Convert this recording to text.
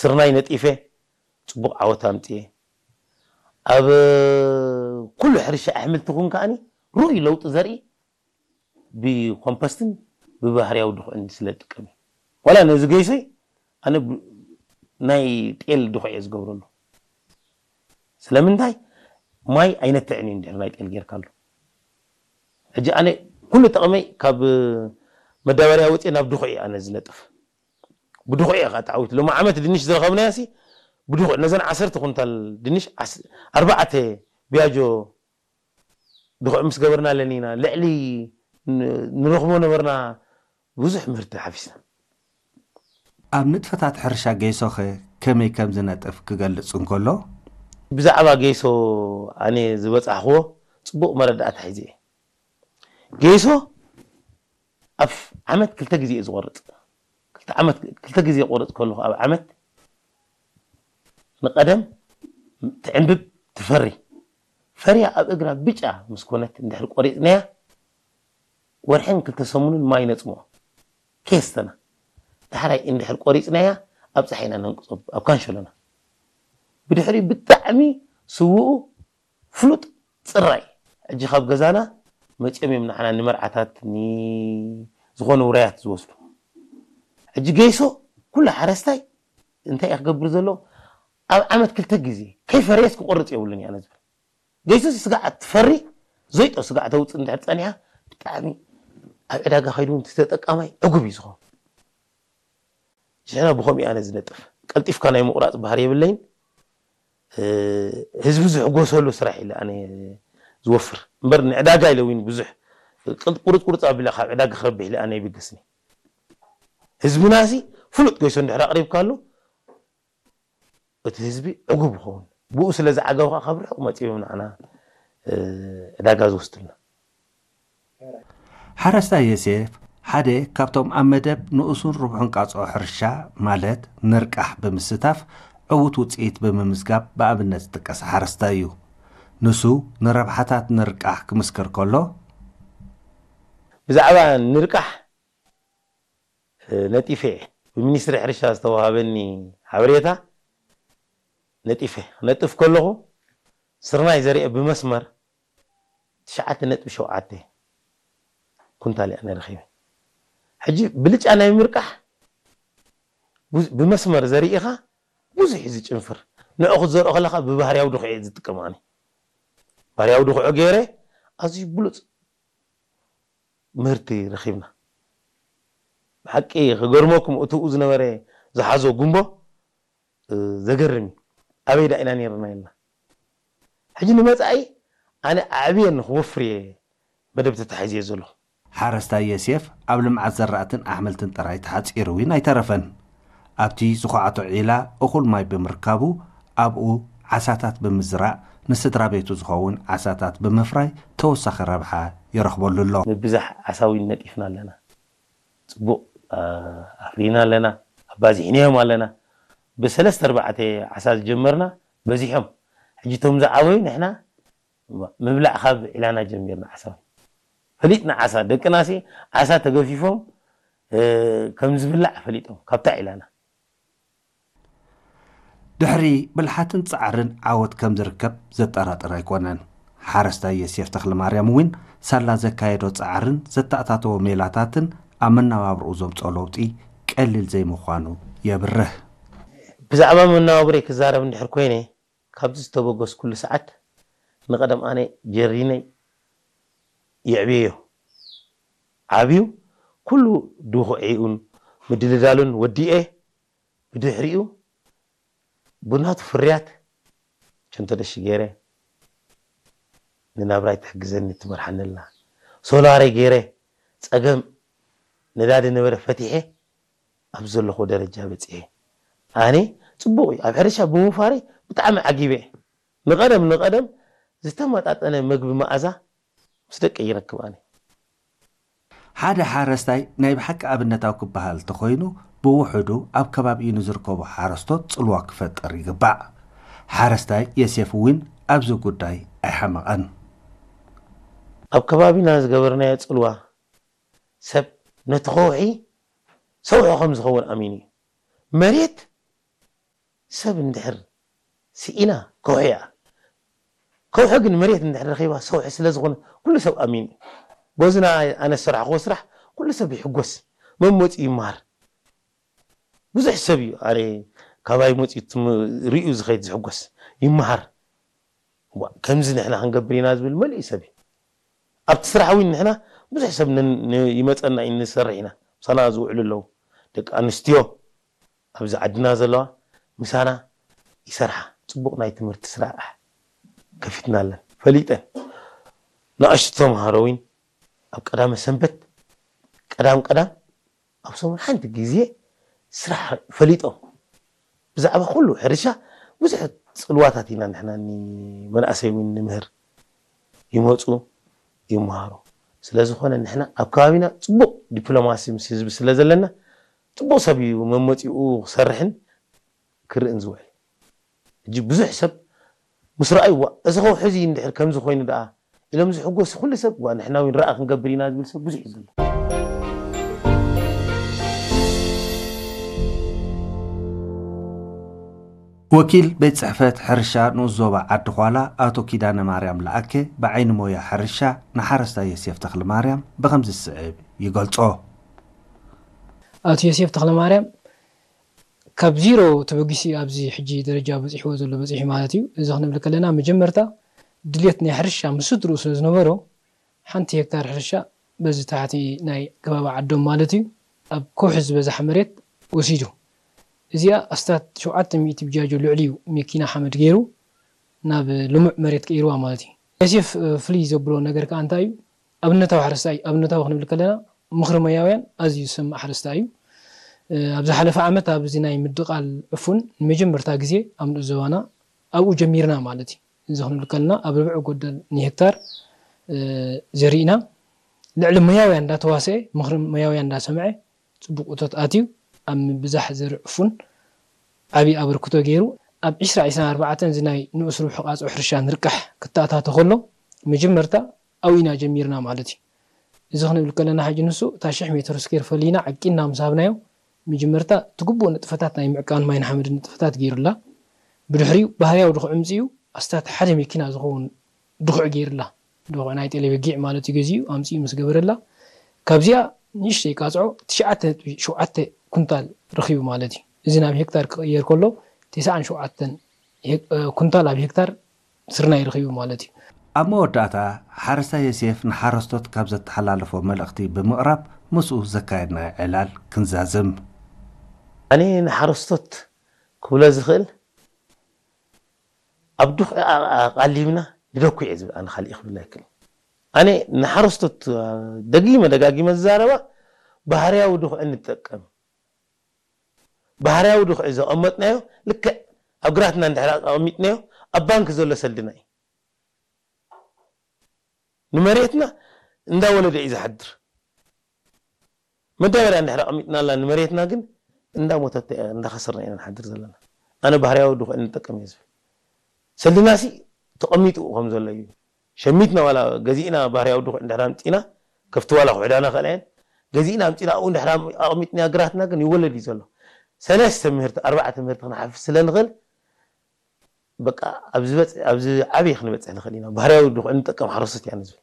ስርናይ ነጢፈ ጽቡቕ ዓወት ኣምጽኤ። ኣብ ኩሉ ሕርሻ ኣሕምልቲ ኹን ከኣኒ ርኡይ ለውጢ ዘርኢ ብኮምፖስትን ብባህርያዊ ድኹዕን ስለ ዝጥቀም እዩ። ዋላ ነዚ ገይሶይ ኣነ ብ- ናይ ጤል ድኹዕ እየ ዝገብረሉ። ስለምንታይ ማይ ኣይነትዕን እዩ እንድሕር ናይ ጤል ጌርካሉ። ሕጂ ኣነ ኩሉ ጥቕመይ ካብ መዳበርያ ወፅየ ናብ ድኹዕ እየ ኣነ ዝነጥፍ። ብድኹዕ እየ ከዓ ተዓዊት። ሎሚ ዓመት ድንሽ ዝረኸብናዮ ሲ ብድኹዕ ነዘን ዓሰርተ ኩንታል ድንሽ ዓስ- ኣርባዕተ ቢያጆ ድኹዕ ምስ ገበርና ኣለኒና ልዕሊ ን- ንረኽቦ ነበርና ብዙሕ ምህርቲ ሓፊስና። ኣብ ንጥፈታት ሕርሻ ገይሶኸ ከመይ ከም ዝነጥፍ ክገልጽ እንከሎ፣ ብዛዕባ ገይሶ ኣነ ዝበጻሕክዎ ጽቡቕ መረዳእታ ሒዘ እየ። ገይሶ ኣብ ዓመት ክልተ ግዜ እየ ዝቆርጽ። ክልተ ዓመት ክልተ ግዜ ቆርጽ ከለኹ ኣብ ዓመት ንቀደም ትዕንብብ ትፈሪ ፈርያ ኣብ እግራ ብጫ ምስ ኮነት እንድሕር ቆሪጽናያ ወርሕን ክልተ ሰሙንን ማይ ነጽምኦ ከየስተና ዳሕራይ እንድሕር ቆሪጽናያ ኣብ ፀሓይና ነንቅጾ ኣብ ካንሸሎና ብድሕሪ ብጣዕሚ ስውኡ ፍሉጥ ፅራይ ሕጂ ካብ ገዛና መፅኦም እዮም ንዓና ንመርዓታት ዝኾኑ ውራያት ዝወስዱ ሕጂ ገይሶ ኩሉ ሓረስታይ እንታይ እዩ ክገብር ዘሎ ኣብ ዓመት ክልተ ግዜ ከይፈረየስ ክቆርፅ የብሉን እያ ዝብል ገይሶ ስጋዕ ትፈሪ ዘይጦ ስጋዕ ተውፅእ እንድሕር ፀኒሓ ብጣዕሚ ኣብ ዕዳጋ ከይዱ እውን ተጠቃማይ ዕጉብ እዩ ዝኸውን ሽሕና ብኸምኡ ኣነ ዝነጥፍ ቀልጢፍካ ናይ ምቑራፅ ባህሪ የብለይን ህዝቢ ዝሕጎሰሉ ስራሕ ኢለ ኣነ ዝወፍር እምበር ንዕዳጋ ኢለ እውን ብዙሕ ቁርፅ ቁርፅ ኣቢለ ካብ ዕዳጋ ክረብሕ ኢለ ኣነ ይብገስኒ ህዝብና ሲ ፍሉጥ ገይሶ እንድሕር ኣቕሪብካሉ እቲ ህዝቢ ዕጉብ ይኸውን ብኡ ስለ ዝዓገቡ ከዓ ካብ ርሑቕ መፂኦም ንዓና ዕዳጋ ዝወስዱልና ሓረስታይ ዮሴፍ ሓደ ካብቶም ኣብ መደብ ንኡሱን ርቡሕን ቃጽዖ ሕርሻ ማለት ንርቃሕ ብምስታፍ ዕዉት ውጽኢት ብምምዝጋብ ብኣብነት ዝጥቀስ ሓረስታይ እዩ። ንሱ ንረብሓታት ንርቃሕ ክምስክር ከሎ፣ ብዛዕባ ንርቃሕ ነጢፈ እየ። ብሚኒስትሪ ሕርሻ ዝተዋሃበኒ ሓበሬታ ነጢፈ ክነጥፍ ከለኹ ስርናይ ዘሪአ ብመስመር ትሽዓተ ነጥቢ ሸውዓተ ኩንታል እየ ኣነ ረኺበ። ሕጂ ብልጫ ናይ ምርቃሕ ብመስመር ዘሪእኻ ብዙሕ እዩ ዝጭንፍር። ንዑ ክትዘርኦ ከለኻ ብባህርያዊ ድኹዒ እየ ዝጥቀም ኣነ። ባህርያዊ ድኹዒ ገይረ ኣዝዩ ብሉፅ ምህርቲ ረኺብና። ብሓቂ ክገርመኩም እትኡ ዝነበረ ዝሓዞ ጉንቦ ዘገርም እዩ። ኣበይ ዳ ኢና ነይርና ኢልና። ሕጂ ንመፃኢ ኣነ ኣዕብየ ንክወፍር እየ መደብ ተታሒዘ ዘለኹ። ሓረስታይ የሴፍ ኣብ ልምዓት ዘራእትን ኣሕምልትን ጥራይ ተሓፂሩ እውን ኣይተረፈን። ኣብቲ ዝኹዓቶ ዒላ እኹል ማይ ብምርካቡ ኣብኡ ዓሳታት ብምዝራእ ንስድራ ቤቱ ዝኸውን ዓሳታት ብምፍራይ ተወሳኺ ረብሓ ይረኽበሉ ኣሎ። ምብዛሕ ዓሳ እውን ነጢፍና ኣለና። ፅቡቕ ኣፍሪና ኣለና፣ ኣባዚሕናዮም ኣለና። ብሰለስተ ኣርባዕተ ዓሳ ዝጀመርና በዚሖም። ሕጂ እቶም ዝዓበዩ ንሕና ምብላዕ ካብ ዒላና ጀሚርና ዓሳ ፈሊጥና ዓሳ ደቅናሲ ዓሳ ተገፊፎም ከም ዝብላዕ ፈሊጦም ካብታ ዒላና ድሕሪ ብልሓትን ጻዕርን ዓወት ከም ዝርከብ ዘጠራጥር ኣይኮነን። ሓረስታይ የሴፍ ተኽለማርያም እውን ሳላ ዘካየዶ ጻዕርን ዘተኣታተዎ ሜላታትን ኣብ መነባብርኡ ዘምጽኦ ለውጢ ቀሊል ዘይምዃኑ የብርህ። ብዛዕባ መነባብሮይ ክዛረብ እንድሕር ኮይነ ካብዚ ዝተበገስኩሉ ሰዓት ንቐደም ኣነ ጀሪነይ የዕብየዮ ዓብዩ ኩሉ ድኹዒኡን ምድልዳሉን ወዲኤ ብድሕሪኡ ብናቱ ፍርያት ቸንተደሺ ገይረ ንናብራይ ትሕግዘኒ ትመርሓኒ ኣላ። ሶላረይ ገይረ ፀገም ነዳዲ ነበረ ፈቲሐ ኣብዚ ዘለኹዎ ደረጃ በፂሐ። ኣነ ፅቡቕ እዩ ኣብ ሕርሻ ብምውፋረይ ብጣዕሚ ዓጊበ። ንቐደም ንቐደም ዝተመጣጠነ መግቢ መኣዛ ምስ ደቀይ ይረክብ ኣነ። ሓደ ሓረስታይ ናይ ብሓቂ ኣብነታዊ ክበሃል እንተኾይኑ ብውሑዱ ኣብ ከባቢኡ ንዝርከቡ ሓረስቶት ጽልዋ ክፈጥር ይግባእ። ሓረስታይ የሴፍ እውን ኣብዚ ጉዳይ ኣይሓመቐን። ኣብ ከባቢና ዝገበርናዮ ጽልዋ ሰብ ነቲ ከውሒ ሰውሒ ከም ዝኸውን ኣሚኑ እዩ። መሬት ሰብ እንድሕር ስኢና ከውሒ እያ። ከውሒ ግን መሬት እንድሕር ረኺባ ሰውሒ ስለ ዝኾነ ኩሉ ሰብ ኣሚኑ እዩ። በዚ ና-፣ ኣነ ዝሰራሕኽዎ ስራሕ ኩሉ ሰብ ይሕጎስ። መን መፂኡ ይመሃር። ብዙሕ ሰብ እዩ ኣነ ካባይ መፂኡ ትም-፣ ርእዩ ዝኸይድ ዝሕጎስ። ይመሃር። ዋ፣ ከምዚ ንሕና ክንገብር ኢና ዝብል መሊኡ ሰብ እዩ። ኣብቲ ስራሕ እውን ንሕና ብዙሕ ሰብ ን-፣ ን-፣ ይመፀና እዩ፣ ንሰርሕ ኢና። ምሳና ዝውዕሉ ኣለዉ። ደቂ ኣንስትዮ ኣብዚ ዓድና ዘለዋ ምሳና ይሰርሓ። ፅቡቕ ናይ ትምህርቲ ስራሕ ከፊትና ኣለን። ፈሊጠን። ንኣሽቱ ተምሃሮ እውን ኣብ ቀዳመ ሰንበት ቀዳም ቀዳም ኣብ ሰሙን ሓንቲ ግዜ ስራሕ ፈሊጦም። ብዛዕባ ኩሉ ሕርሻ ብዙሕ ጽልዋታት ኢና ንሕና ንመናእሰይ እውን ንምህር። ይመጹ፣ ይመሃሩ። ስለ ዝኾነ ንሕና ኣብ ከባቢና ጽቡቕ ዲፕሎማሲ ምስ ህዝቢ ስለ ዘለና፣ ጽቡቕ ሰብ እዩ መመጺኡ ክሰርሕን ክርእን ዝውዕል። ሕጂ ብዙሕ ሰብ ምስ ረኣዩ፣ "ዋ፣ እዚ ከውሒ እዚ እንድሕር ከምዚ ኮይኑ ደኣ?" ኢሎም ዝሕጎሱ ኩሉ ሰብ፣ "ዋ፣ ንሕና እውን ረኣ ክንገብር ኢና" ዝብል ሰብ ብዙሕ እዩ ዘሎ። ወኪል ቤት ጽሕፈት ሕርሻ ንኡስ ዞባ ዓዲ ዃላ ኣቶ ኪዳነ ማርያም ለኣከ ብዓይኒ ሞያ ሕርሻ ንሓረስታይ ዮሴፍ ተኽለ ማርያም ብኸምዚ ዝስዕብ ይገልጾ። ኣቶ ዮሴፍ ተኽለ ማርያም ካብ ዚሮ ተበጊሱ ኣብዚ ሕጂ ደረጃ በፂሕዎ ዘሎ በፂሑ ማለት እዩ። እዚ ክንብል ከለና መጀመርታ ድልየት ናይ ሕርሻ ምስ ስድርኡ ስለ ዝነበሮ ሓንቲ ሄክታር ሕርሻ በዚ ታሕቲ ናይ ከባቢ ዓዶም ማለት እዩ ኣብ ከውሒ ዝበዝሓ መሬት ወሲዱ። እዚኣ ኣስታት ሸውዓተ ሚእቲ ብጃጆ ልዕሊ እዩ መኪና ሓመድ ገይሩ ናብ ልሙዕ መሬት ቀይርዋ ማለት እዩ። ዮሴፍ ፍልይ ዘብሎ ነገር ከዓ እንታይ እዩ? ኣብነታዊ ሓረስታይ ኣብነታዊ ክንብል ከለና ምኽሪ ሞያውያን ኣዝዩ ዝሰምዕ ሓረስታይ እዩ። ኣብ ዝሓለፈ ዓመት ኣብዚ ናይ ምድቓል ዕፉን ንመጀመርታ ግዜ ኣብ ንኡስ ዞባና ኣብኡ ጀሚርና ማለት እዩ። እዚ ክንብል ከለና ኣብ ርብዒ ጎደል ንሄክታር ዘሪእና ልዕሊ ሞያውያን እንዳተዋሰኤ ምኽሪ ሞያውያን እንዳሰምዐ ፅቡቕ እቶት ኣትዩ ኣብ ምብዛሕ ዘርኢ ዕፉን ዓብዪ ኣበርክቶ ገይሩ ኣብ ዕስራ ዕስራን ኣርባዕተን እዚ ናይ ንኡስ ርብሒ ቃፅዖ ሕርሻ ንርቃሕ ክተኣታቶ ከሎ መጀመርታ ኣብኡ ኢና ጀሚርና ማለት እዩ። እዚ ክንብል ከለና ሕጂ ንሱ እታ ሽሕ ሜትር ስኬር ፈሊና ዓቂንና ምስ ሃብናዮ መጀመርታ እቲ ግቡእ ንጥፈታት ናይ ምዕቃን ማይ ንሓመድ ንጥፈታት ገይሩላ። ብድሕሪኡ ባህርያዊ ድኹዒ ኣምፂኡ ኣስታት ሓደ መኪና ዝኸውን ድኹዒ ገይሩላ። ድኹዒ ናይ ጤለ በጊዕ ማለት እዩ ገዚኡ ኣምፂኡ ምስ ገበረላ ካብዚኣ ንእሽተይ ቃፅዖ ትሽዓተ ነጥቢ ሸውዓተ ኩንታል ረኺቡ ማለት እዩ። እዚ ናብ ሄክታር ክቕየር ከሎ ተስዓን ሸውዓተን ኩንታል ኣብ ሄክታር ስርናይ ረኺቡ ማለት እዩ። ኣብ መወዳእታ ሓረስታይ ዮሴፍ ንሓረስቶት ካብ ዘተሓላለፎ መልእኽቲ ብምቕራብ ምስኡ ዘካየድናዮ ዕላል ክንዛዝም። ኣነ ንሓረስቶት ክብሎ ዝኽእል ኣብ ድኹዒ ኣቓሊብና ንደኩ እየ ዝብል ኣነ ካሊእ ክብል ኣይክእል። ኣነ ንሓረስቶት ደጊመ ደጋጊመ ዝዛረባ ባህርያዊ ድኹዒ ንጠቀም። ባህርያዊ ድኹዒ ዘቐመጥናዮ ልክዕ ኣብ ግራትና እንድሕር ኣቐሚጥናዮ ኣብ ባንክ ዘሎ ሰልድና እዩ። ንመሬትና እንዳወለደ እዩ ዝሓድር። መዳበርያ እንድሕር ኣቐሚጥናላ ንመሬትና ግን እንዳሞተት እንዳኸሰርና ኢና ንሓድር ዘለና። ኣነ ባህርያዊ ድኹዒ ንጠቀም እየ ዝብል። ሰልድናሲ ተቐሚጡ ከም ዘሎ እዩ። ሸሚትና ዋላ ገዚእና ባህርያዊ ድኹዒ እንድሕር ኣምፂና ከፍቲ ዋላ ክውሕዳ ንኽእላ እየን። ገዚእና ኣምፂና ኣብኡ እንድሕር ኣቕሚጥና ግራትና ግን ይወለድ እዩ ዘሎ። ሰለስተ ምህርቲ ኣርባዕተ ምህርቲ ክንሓፍስ ስለ ንኽእል በቃ ኣብ ዝበፅ- ኣብ ዝዓበየ ክንበፅሕ ንኽእል ኢና። ባህርያዊ ድኹዒ ንጠቀም ሓረስቶት ኢና ንዝብል።